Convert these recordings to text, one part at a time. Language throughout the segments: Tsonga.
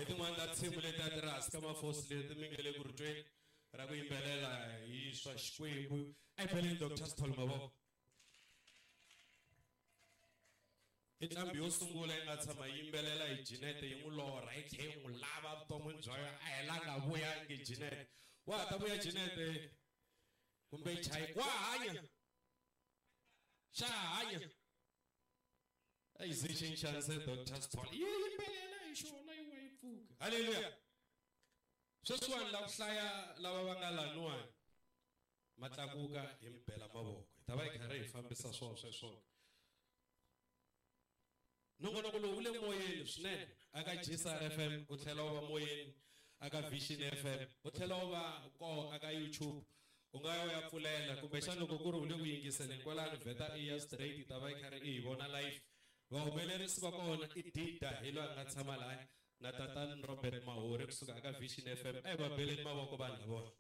Hi tin'wani ta tinsimu leti a ti ri hansi ka mafosi leti mi nge le ku ri tweni ra ku yimbelela hi swa Xikwembu. A hi beleni Dr. Sithole mavoko. I nqambi yo sungula yi nga tshama yi yimbelela hi Jeanette yi n'wi lorha yi tlhe yi n'wi lava vuton'wini bya yona a helanga vuyangi Jeanette. Wa ha ta vuya Jeanette kumbe chayi wa hanya xa hanya a yi ze xinxanise Dr. Sithole yi yimbelela hi xona yi wa yi pfuka. Haleluya. Sweswiwani la ku hlaya lava va nga laniwani ma tlakuka hi mi bela mavoko hi ta va hi karhi hi fambisa swona sweswo. Nongonoko lowu wu le moyeni swinene aka GCR FM wu tlhela wu va moyeni aka Vision FM wu tlhela wu va koho aka YouTube u nga ya u ya pfulela kumbexana loko ku ri u le ku yingiseleni kwalano vheta i ya straight yi ta va yi karhi i hi vona live. Vahumelerisi va kona i Dida hi loyi a nga tshama lahaya na tatani Robert Mahori kusuka aka Vision FM. A hi va beleni mavoko vanhu lavona.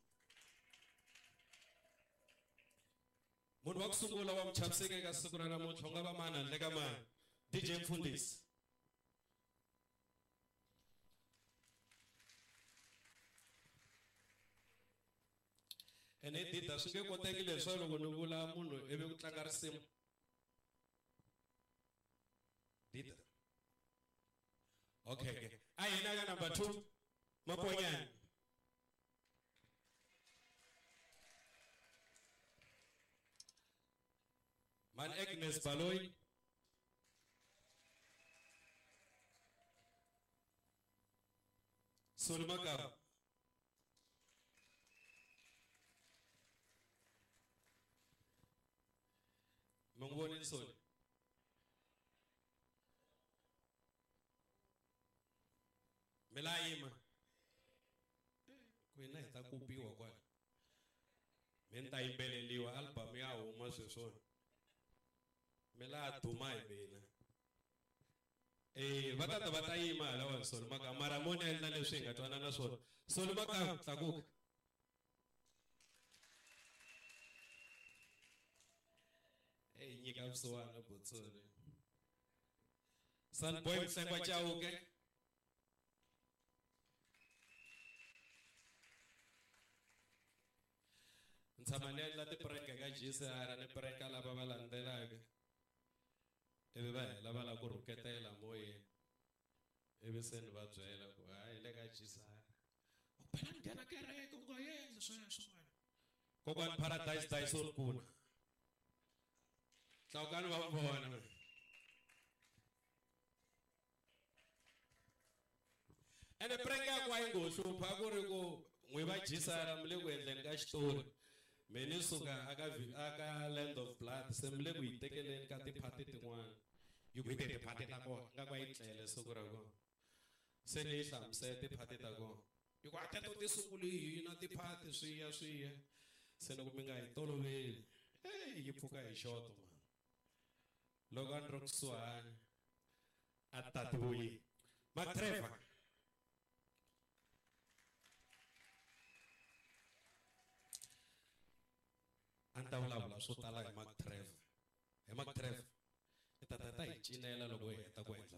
Munhu wa ku sungula wa muchaviseki eka siku ra namuntlha u nga va mani handle ka mani? DJ Mfundhisi. Ene Dida swi nge koteki leswi loko ni vula munhu ivi ku tlanga risimu. Dida. Okay, okay. A hina ka number 2 Maponyane. Man Agnes Baloyi. Soli Makaba. Mi n'wi vonile Soli? Mi la yima. Ku hina hi ta kupiwa kwala. Mi ni ta yimbeleliwa album ya huma sweswona. Mi la duma hi mina. Va tata va ta yima hala Soli Makaba mara mo ni endla leswi hi nga twanana swona. Soli Makaba tlakuka. Hey, nyika vusiwana Botsoni. Sunboy Mhlengwa Chauke. Ni tshama ni endla ti-prank ka GCR ni pranka lava va landzelaka ivi va hela va lava ku rhuketela moyeni ivi se ni va byela ku hayi le ka GCR u phela ni nghena kereke u nga endli sweswo wena. Kokwani Paradise Dyson Kuna. Tlakukani va vona. Ene prank ya ku a yi ngo hlupha a ku ri ku n'wi va GCR mi le ku endleni ka xitori me ni suka aka aka Land of Blood se mi le ku yi tekeleni ka tiphati tin'wana yi ku hi te tiphati ta kona nga ku a yi tlele siku ra kona se ni yi hlamusela tiphati ta kona yi ku a teto ti sungule hi hina tiphati swi ya swi ya se loko mi nga yi toloveli hey yi pfuka hi xoto man loko a ni ri kusuhani a tati vuyi Mark Trevor. A ni ta vulavula swo tala hi Mark Trevor. Hi Mark Trevor. I ta ta ta hi cinela loko hi heta ku endla